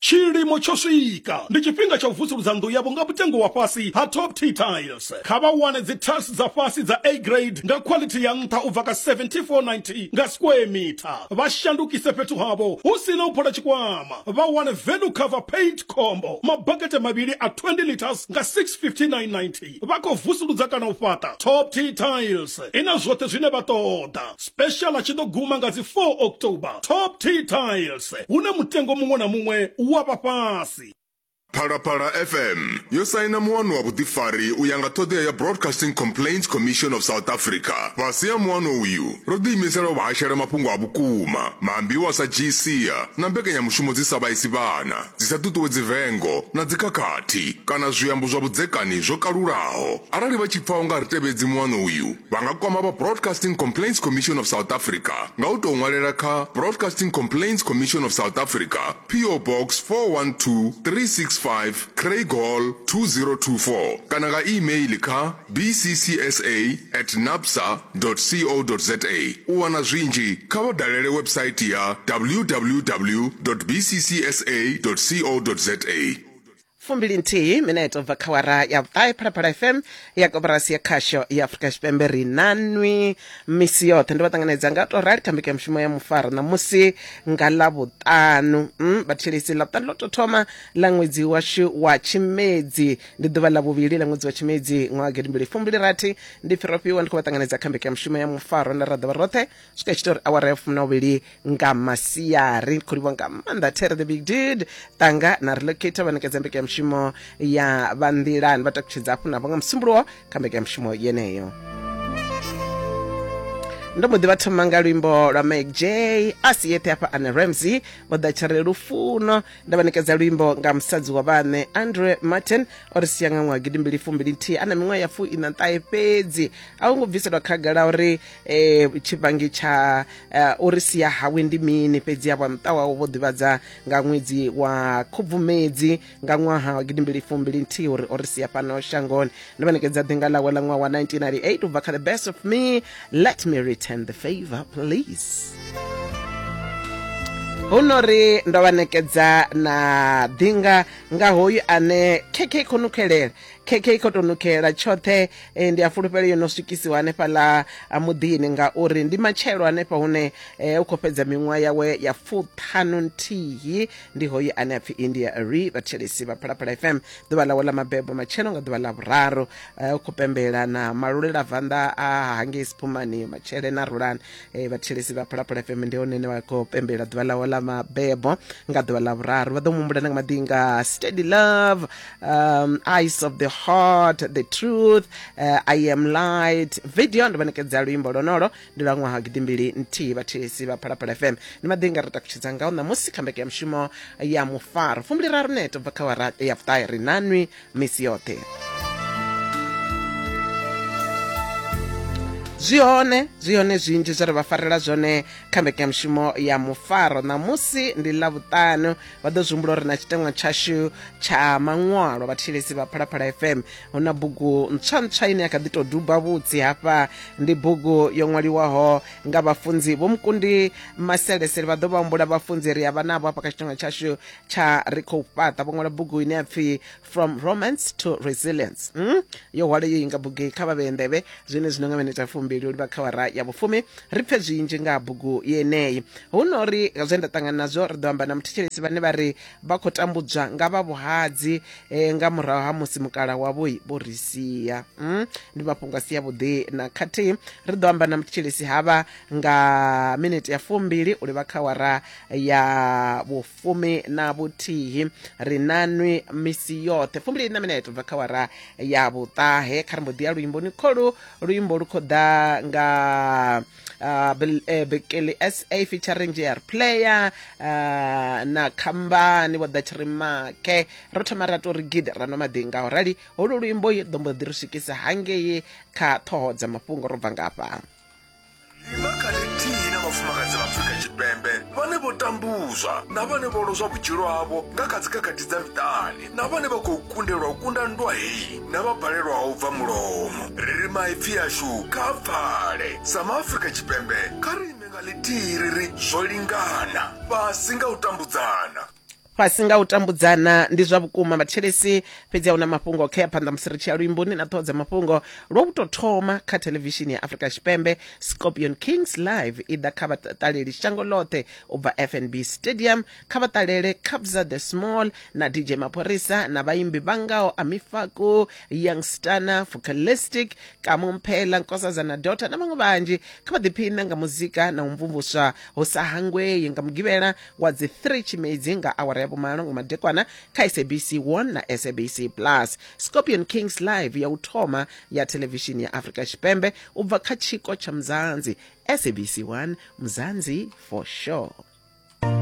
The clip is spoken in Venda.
Tshilimo tsho swika, ndi tshifhinga tsha u vusuludza nnḓu yavho nga mutengo wa fhasi ha Top T Tiles. Kha vha wane dzi tiles dza fhasi dza A grade nga quality ya nṱha u bva kha 74.90 nga square meter. Vha shandukise fhethu havho hu si na u phola tshikwama. Vha wane value cover paint combo mabakete mavhili a 20 litres nga 659.90. Vha khou vusuludza kana u fhaṱa? Top T Tiles i na zwoṱhe zwine vha ṱoḓa. Special tshi ḓo guma nga dzi 4 October. Top T Tiles, hune mutengo muṅwe na muṅwe wa vha fhasi. Phalaphala FM yo saina muano wa vhuḓifari u ya nga ṱhoḓea ya Broadcasting Complaints Commission of South Africa. Fhasi ha muano uyu, ro ḓiimisela u vha hashela mafhungo a vhukuma, maambiwa a sa dzhii sia na mbekanyamushumo dzi sa vhaisi vhana, dzi sa ṱuṱuwedzi vengo na dzikhakhathi kana zwiambo zwa vhudzekani zwo kalulaho. Arali vha tshi pfa u nga ri tevhedzi muano uyu, Vha nga kwama vha Broadcasting Complaints Commission of South Africa nga u tou ṅwalela kha Broadcasting Complaints Commission of South Africa, PO Box 412365, Craighall 2024 kana nga e-mail kha bccsa at nabsa co za. U wana zwinzhi kha vha dalele website ya www bccsa co za. 21 minete ubva kha wara ya vhuṱahe phalaphala fm ya koporasi ya khasho ya afurika tshipembe ri na nwi misi yoṱhe ndo vha ṱanganedza nga to rali kha mbekanyamushumo ya mufaro ṋamusi nga ḽavhuṱanu mm, vhathetshelesi ḽavhuṱanu ḽo tou thoma ḽa ṅwedzi washu wa tshimedzi ndi ḓuvha ḽa vhuvhili ḽa ṅwedzi wa tshimedzi ṅwaha gidimbili fumbili rathi ndi pfi rofhiwa ndi khou vha ṱanganedza kha mbekanyamushumo ya mufaro nda ra ḓovha roṱhe swika tshi ita uri awara ya fumi na vhuvhili nga masiari ndi khou livhuwa nga maanḓa there the big dude tanga na relocator vha ṋekedza mbekanyamushumo ya vha nḓilani vha takutshedza hafhu navho nga musumbuluwo kha mbekanyamushumo yeneyo ndo mbo ḓi vha thoma nga luimbo lwa Mike J a si yeṱhe hafha Anne Ramsey vho ḓa tshare lufuno nda vha ṋekedza luimbo nga musadzi wa vhaṋe Andre Martin o ri sia nga ṅwaha gidimbili fumbili nthihi a na miṅwaha ya fu ina ṱahe fhedzi a hu ngo bviselwa khagala uri eh, tshifhangi tsha eh, uri sia hawe ndi mini fhedzi avha muṱa wawe vho ḓivhadza nga ṅwedzi wa khubvumedzi nga ṅwaha wa gidimbili fumbili nthihi uri o ri sia fhano shangoni ndo vha ṋekedza ḓinga ḽawe ḽa ṅwaha wa 1998 u bva kha the best of me let me return the favor please hu no ri ndo vha ṋekedza na ḓinga nga hoyu ane kk khou nukhelela kk khou tou nukhelela tshoṱhe e, ndi a fulufhela yo no swikisiwa hanefhaḽa muḓini ngauri ndi matshelo hanefha hune e, u khou fhedza miṅwaha yawe ya fuṱhanu nthihi ndi hoyu ane a pfi India Ri vhathetshelesi vha Phalaphala FM ḓuvha ḽawe ḽa mabebo matshelo nga ḓuvha ḽa vhuraru e, u khou pembela na malulela-vanḓa a hangei Siphumani Matshele na Rulani e, vhathetshelesi vha Phalaphala FM ndi hone ne vha khou pembela ḓuvha ḽawe ḽa mabebo nga ḓuvha ḽa vhuraru vha ḓo mu humbula na nga maḓinga Steady Love Eyes of the Heart, The Truth, I Am Light. Video ndo vha ṋekedza luimbo lonolo ndi lwa ṅwaha gidimbili nthihi vhathetshelesi vha Phalaphala FM. Ndi maḓinga ri takutshedza ngao ṋamusi kha mbekanyamushumo ya mufaro fumbili raru neto bva kha wara ya vhuṱahe ri na nwi misi yoṱhe. Zwi hone zwi hone zwinzhi zwe ra vha farela zwone kha mbekanyamushumo ya mufaro ṋamusi ndi ḽavhuṱanu vha ḓo zwi humbula uri na tshiteṅwa tshashu tsha maṅwalo vhathetshelesi vha phalaphala fm hu na bugu ntswa ntswa ine ya kha ḓi tou duba vhutsi hafha ndi bugu yo ṅwaliwaho nga vhafunzi vho mukundi maselesele vha ḓo vha humbula vhafunzi ri a vha navho hafha kha tshiteṅwa tshashu tsha ri khou fhaṱa vho ṅwala bugu ine ya pfi from romance to resilience mm? yo hwala yo inga bugu kha vha vhee nḓevhe zwine zwino nga minete ya fumbili u livha kha wara ya vhufumi ri pfe zwinzhi nga ha bugu yeneyi hu no ri zwe nda ṱangana nazwo ri ḓo amba na muthetshelesi vhane vha ri vha khou tambudzwa nga vha vhuhadzi eh, nga murahu ha musi mukala wavho vho ri sia mm? ndi mafhungo a si avhuḓi na khathihi ri ḓo amba na muthetshelesi havha nga minete ya fumbili u livha kha wara ya vhufumi na vhuthihi ri na nwi misi yoṱhe fumbili na minete ubva kha wara ya vhuṱahe kha ri mbo ḓi ya luimboni kholu luimbo lu khou ḓa nga uh, Bekele SA featuring JR Player uh, na khambani vho ḓa tshirimake ro thoma ra tou ri gidi ra nwa maḓi nga u rali holu luimbo ḓo mbo ḓi ri swikisa hangei kha ṱhoho dza mafhungo ro bva ngafha Ima kha ḽithihi na vhafumakadzi vha Afrika Tshipembe vhane vho tambuzwa na vhane vho lozwa vhutshilo havho nga kha dzikhakhathi dza miṱani na vhane vha khou kundelwa u kunda nndwa heyi na vha balelwaho u bva mulomo. Ri ri maipfi ashu kha a pfale. Sa MaAfrika Tshipembe, kha ri ime nga ḽithihi ri ri zwo lingana, fhasi nga u tambudzana. Fhasi nga u tambudzana ndi zwa vhukuma vhathetshelesi, fhedzi a huna mafhungo khea phanḓa musi ri tshi ya luimboni na ṱhoho dza mafhungo. Lwa u tou thoma kha thelevishini ya Afrika Tshipembe, Scorpion Kings Live i ḓa kha vhaṱaleli shango ḽoṱhe u bva FNB Stadium. Kha vha ṱalele Kabza De Small na DJ Maphorisa na vhaimbi vha ngaho Amifaku, Young Stunna, Focalistic, Kamo Mphela, Nkosazana Daughter na vhaṅwe vhanzhi. Kha vha ḓiphine nga muzika na u mvumvuswa hu sa hangwei nga Mugivhela wa dzi 3 Tshimedzi nga awara ya vhumalo nga madekwana kha SABC 1 na SABC Plus. Scorpion Kings Live ya u thoma ya thelevishini ya Afrika Tshipembe u bva kha tshiko tsha Mzansi. SABC 1, Mzansi for sure.